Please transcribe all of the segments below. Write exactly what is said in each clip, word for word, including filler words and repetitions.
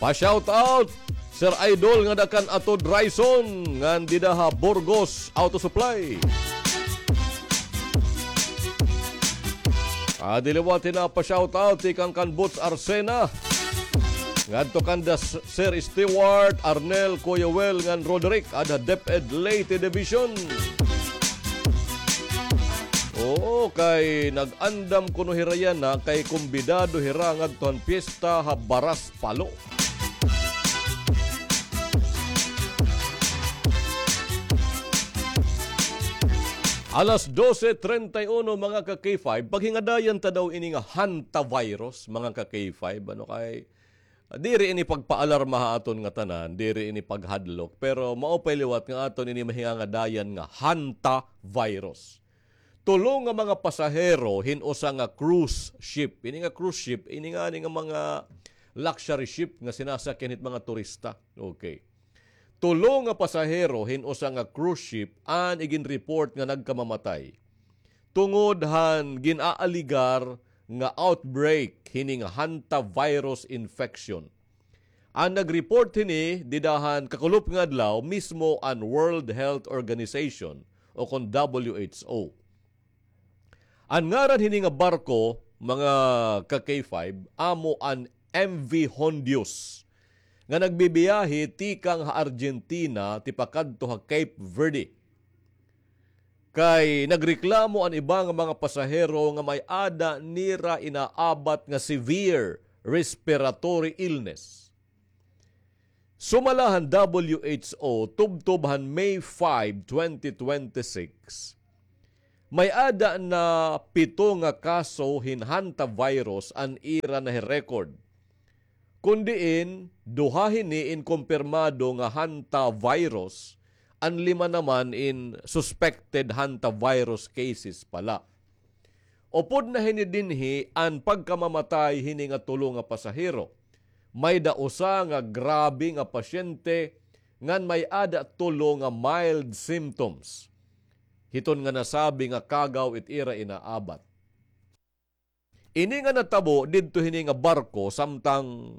Pa-shout out, Sir Idol, ngada kan Ato Dryson ngan dida ha Burgos Auto Supply. Adi liwat hin pa-shout out tikang kan Boots Arsena. Ngadto kanda S-, Sir Stewart, Arnel, Kuya Wel, ngan Roderick, ada DepEd Leyte Division. Oo, kay nag-andam kuno hira yana, kay kumbidado hira ngadto han piyesta ha Baras Palo. Alas dose treinta y uno, mga ka-K five, paghingadayan ta daw ini nga hantavirus, mga ka-K five, ano kay, diri ini pagpaalarma ha aton ngatanan, diri ini paghadlok, pero maupay liwat nga aton ini mahingangadayan nga hantavirus. Tulo nga mga pasahero hin usa nga cruise ship. Ini nga cruise ship, ini ngani nga mga luxury ship nga sinasakyan hit mga turista. Okay. Tulo nga pasahero hin usa nga cruise ship an iginreport nga nagkamamatay tungod han gin-aaligar nga outbreak hini nga hantavirus infection. An nag-report hini dida han kakulop nga adlaw mismo an World Health Organization o kon W H O. An ngaran hini nga barko, mga ka-K five, amo an M V Hondius, nga nagbibiyahe tikang ha Argentina tipakadto ha Cape Verde. Kay nagreklamo an iba nga mga pasahero nga may-ada nira inaabat nga severe respiratory illness. Sumala han W H O, tubtob han May five, twenty twenty-six, may-ada na pito nga kaso hin hantavirus an ira nahi-record. Kon diin, duha hini in kumpirmado nga hantavirus, an lima naman in suspected hantavirus cases pa la. Upod na hini dinhi an pagkamamatay hini nga tulo nga pasahero. May-ada usa nga grabe nga pasyente ngan may-ada tulo nga mild symptoms hiton nga nasabi nga kagaw it ira inaabat. Ini nga natabo didto hini nga barko samtang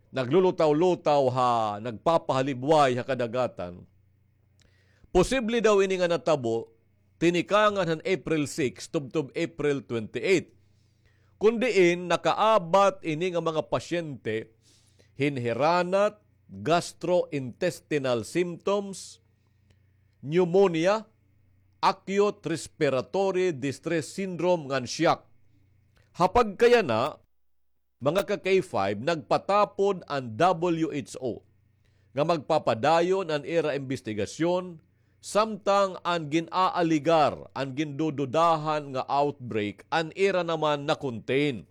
naglulutaw-lutaw ha, nagpapahalibway ha kadagatan. Posible daw ini nga natabo tinikangan han April six tubtob April twenty-eight. Kon diin nakaabat ini nga mga pasyente hin hiranat, gastrointestinal symptoms, pneumonia, acute respiratory distress syndrome ngan shock. Ha pagkayana, mga ka-K five, nagpatapod an W H O nga magpapadayon an ira imbestigasyon samtang an gin-aaligar, an gindududahan nga outbreak, an ira naman na-contain.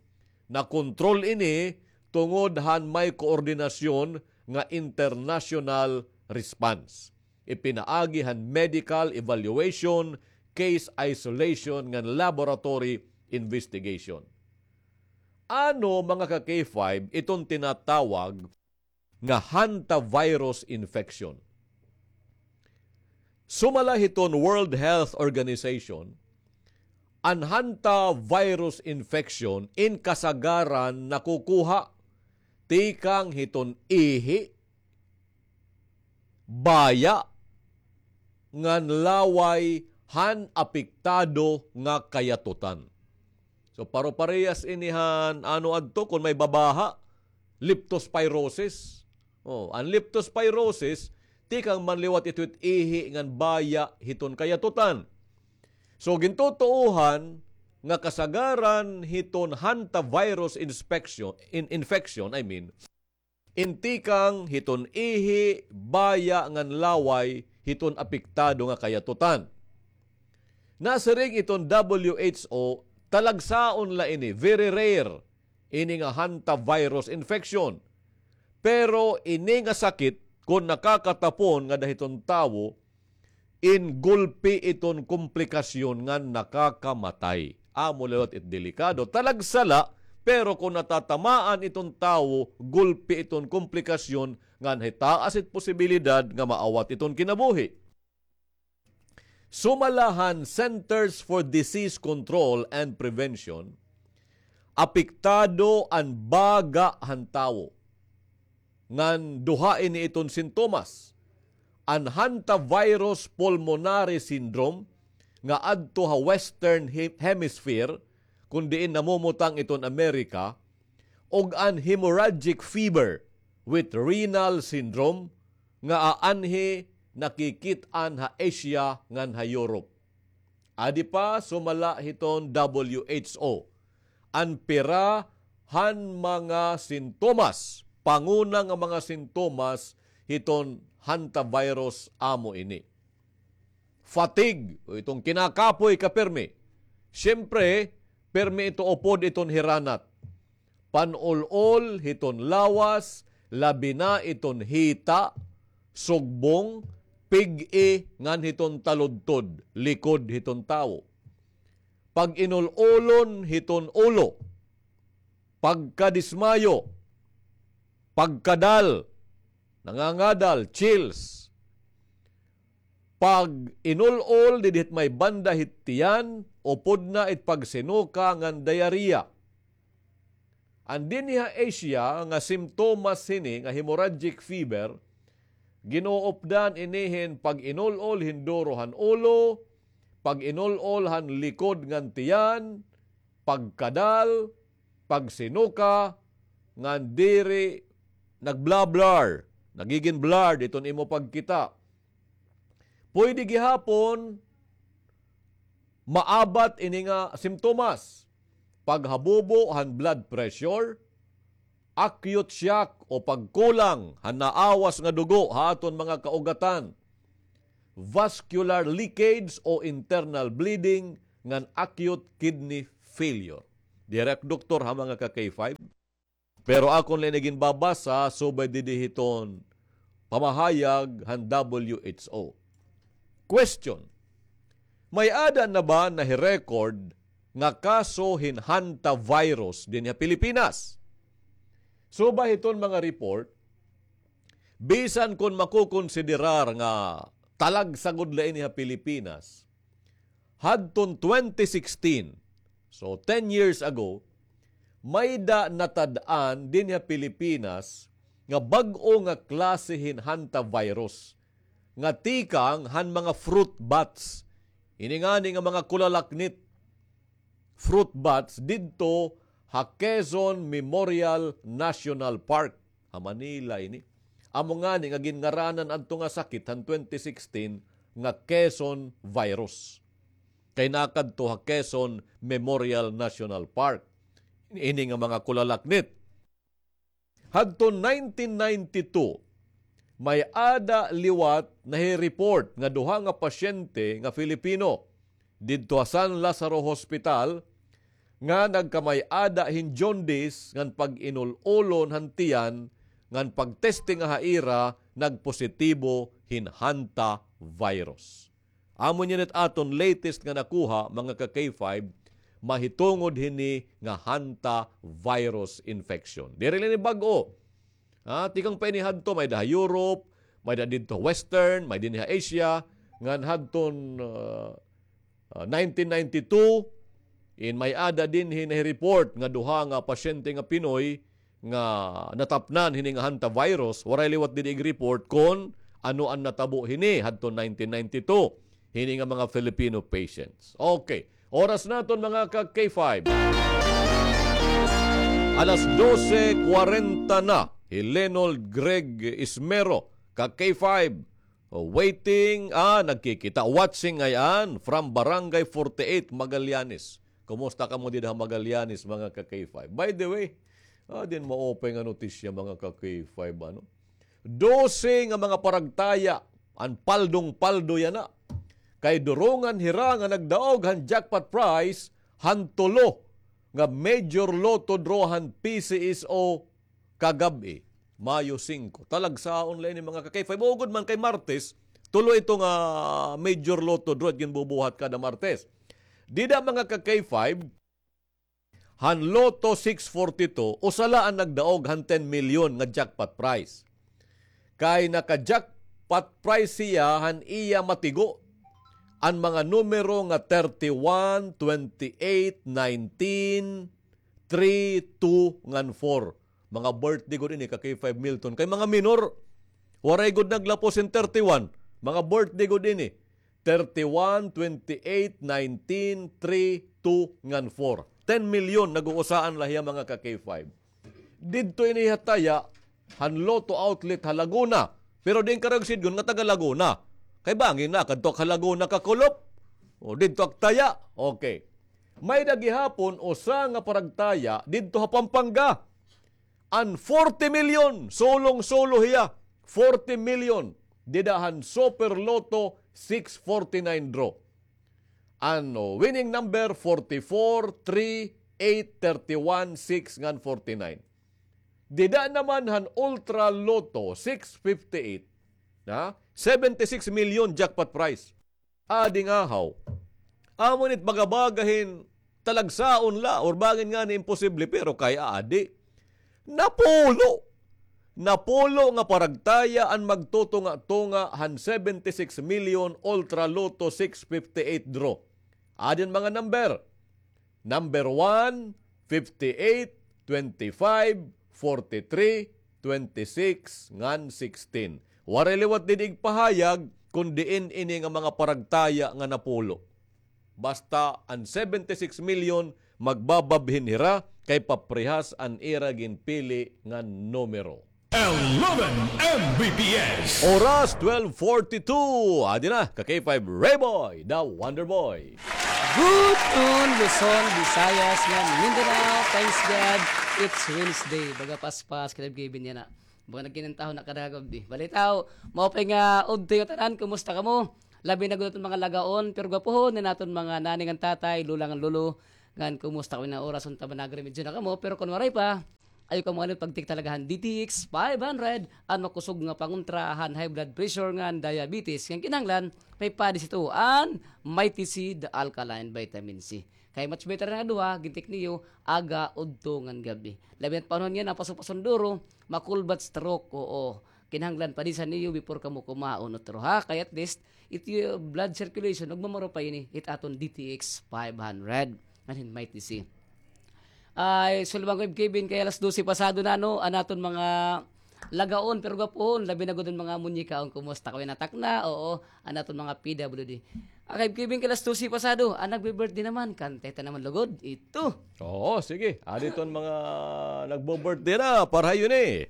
Nakontrol ini tungod han may koordinasyon nga international response. Ipinaagi han medical evaluation, case isolation, ngan laboratory investigation. Ano, mga ka-K five, iton tinatawag nga hantavirus infection? Sumala hiton World Health Organization, an hantavirus infection in kasagaran nakukuha tikang hiton ihi, baya, ngan laway han apektado nga kayatutan. So, paro-parehas ini han ano adto, kon may babaha, leptospirosis. Oh, an leptospirosis, tikang man liwat ito hit ihi ngan baya hiton kayatutan. So, gintutuohan nga kasagaran hiton hantavirus inspection, in-, infection, I mean, in tikang hiton ihi, baya ngan laway hiton apektado nga kayatutan. Nasiring iton W H O, talagsaon la ini, very rare, ini nga hantavirus infection. Pero ini nga sakit, kon nakakatapon ngada hiton tawo, in gulpi iton komplikasyon ngan nakakamatay. Amo liwat it delikado. Talagsa la, pero kon natatamaan iton tawo, gulpi iton komplikasyon ngan hitaas it posibilidad nga maawat iton kinabuhi. Sumala han Centers for Disease Control and Prevention, apektado an baga han tawo. ngan duha ini iton sintomas. An hantavirus pulmonary syndrome nga adto ha Western He-, Hemisphere, kun diin namumutang iton Amerika, ug an hemorrhagic fever with renal syndrome nga aanhi nakikit-an ha Asia ngan ha Europe. Adi pa, sumala hiton W H O, an pira han mga sintomas, panguna nga mga sintomas hiton hantavirus amo ini. Fatigue, o iton kinakapoy ka pirmi. Siyempre, pirmi ito upod iton hiranat. Pan-ul-ol hiton lawas, labi na iton hita, sugbong, pig-i, ngan hiton taludtod, likod hiton tawo. Pag-inul-olon hiton ulo, pagkadismayo, pagkadal, nangangadal, chills. Pag-inul-ol didi hit may banda hit tiyan, upod na it pagsinuka ngan diarrhea. An dinhi ha Asia nga simptomas hini nga hemorrhagic fever, ginuupdan ini hin pag-inul-ol hin duro han ulo, pag-inul-ol han likod ngan tiyan, pagkadal, pagsinuka, ngan diri nagblablar, nagigin blurred iton imo pagkita. Pwede gihapon maabat ini nga simptomas, paghabubo han blood pressure, acute shock o pagkulang han naawas nga dugo ha aton mga kaugatan, vascular leakage o internal bleeding, ngan acute kidney failure. Diri ak doktor ha, mga ka-K five. Pero akon la ini ginbabasa subay didi hiton pamahayag han W H O. Question: May-ada na ba nahi-record nga kaso hin hantavirus dinhi ha Pilipinas? Subay hiton mga report, bisan kon makokonsiderar nga talagsa gud la ini ha Pilipinas, hadton twenty sixteen, so ten years ago, may-da natad-an dinhi ha Pilipinas nga bag-o nga klase hin hantavirus nga tikang han mga fruit bats. Ini ngani nga mga kulalaknit, fruit bats didto ha Quezon Memorial National Park. Ha Manila ini. Amo ngani nga ginngaranan adto nga sakit han twenty sixteen nga Quezon virus. Kay nakadto ha Quezon Memorial National Park ini nga mga kulalaknit. Hadto nineteen ninety-two, may-ada liwat nahi-report nga duha nga pasyente nga Filipino didto ha San Lazaro Hospital nga nagkamay-ada hin jaundice ngan pag-inul-olon han tiyan ngan pag-testing ha ira nagpositibo hin hantavirus. Amo niyan it aton latest nga nakuha, mga ka-K five, mahitungod hini nga hantavirus infection. Diri la ini bag-o. Ha, tikang pa ini hadto, may-ada ha Europe, may-ada didto Western, may dinhi ha Asia, ngan hadton, ah, ah, nineteen ninety-two, in may-ada dinhi nahi-report nga duha nga pasyente nga Pinoy nga natapnan hini nga hantavirus, waray liwat didi ig-report kon ano an natabo hini hadton nineteen ninety-two. Hini nga mga Filipino patients. Okay. Oras naton, mga ka-K five. Alas dose kwarenta na. Hi Lenold Greg Ismero, ka-K five. Oh, waiting, ah, nagkikita. Watching ngay-an from Barangay forty-eight, Magallanes. Kumusta kamo dida ha Magallanes, mga ka-K five? By the way, ah, din maupay nga notisya, mga ka-K five, ano? Dose nga mga paragtaya, an paldong-paldo yana. Kay durongan hira nga nagdaog han jackpot prize han tulo nga Major Lotto draw han P C S O kagab-i, Mayo singko. Talagsaon la ini, mga ka-K five. Ugod man kay Martes, tulo ito nga Major Lotto draw it ginbubuhat kada Martes. Dida, mga ka-K five, han Lotto six forty-two, usa la an nagdaog han ten milyon nga jackpot prize. Kay naka-jackpot prize siya han iya matigo, an mga numero nga thirty-one, twenty-eight, nineteen, three, two, ngan four. Mga birthday gud ini ka K five Milton. Kay mga minor, waray gud naglapos hin thirty-one. Mga birthday gud ini. Thirty-one, twenty-eight, nineteen, three, two, ngan four. Ten million nag-uusaan la hiya, mga ka K five. Didto ini ha taya, han Lotto Outlet ha Laguna. Pero diin ka raw sidngon nga taga Laguna. Kay bangin nakadto ak ha Laguna kakulop. O, didto ak taya. Okay. May-ada gihapon usa nga paragtaya didto ha Pampanga. An forty million, sulong-sulo hiya, forty million. Dida han Super Lotto six forty-nine draw. An winning number, forty-four, three, eight, thirty-one, six, ngan forty-nine. Dida naman han Ultra Lotto six fifty-eight, na seventy-six million jackpot prize. Adi nga haw. Amo nit baga-baga hin talagsaon la, or bangin ngani imposible, pero kay adi. Napulo! Napulo nga paragtaya an magtutunga-tunga han seventy-six million Ultra Lotto six fifty-eight draw. Adi an mga number. Number one, fifty-eight, twenty-five, forty-three, twenty-six, ngan sixteen. Waray liwat didi igpahayag kon diin ini nga mga paragtaya nga napulo. Basta an seventy-six million magbababhin hira kay paprehas an ira ginpili nga numero. Eleven M B P S. Oras, twelve forty-two. Adi na, ka K five Rayboy, the Wonder Boy. Good noon, Luzon, Visayas, ngan Mindanao. Thanks God, it's Wednesday. Baga paspas, Kalib Kevin yana. Baga nagkinantahon na kadagog di. Balitaw, maupay nga udto nga tanan, kumusta kamo? Labi na gud aton mga lagaon, pero gwapohon na naton mga nanay ngan tatay, lola ngan lolo. Ngan kumusta kamo na oras, unta ba nagrimedyo na kamo? Pero kon waray pa, ayaw kamo kalimot pagtik talaga han D T X five hundred, an makusog nga pangontra han high blood pressure ngan diabetes. Ngan kinahanglan, may padi sito an Mighty C, the alkaline vitamin C. Kay much better na duha, gintik niyo, aga, udto, ngan gab-i. Labi na't panahon yana, paso-pason duro, makulbat, stroke, oo. Kinahanglan padisan niyo before kamo kumaon, utro, ha? Kay at least, it iyo blood circulation, nagmamaro pa ini, it aton D T X five hundred. Ngan hin Mighty C. Ay, sulbang ko, Kevin, kay alas dose pasado na, no? An aton mga lagaon, pero gwapohon, labi na gud an mga munyikaon, kumusta? Kay natakna, oo, an aton mga P W D. Ah, kay Kevin, kay alas dose pasado, an nagbe-birthday naman, kantay ta naman lugod, ito. Oo, sige. Adi iton mga nagbo-birthday na, para ha iyo ini.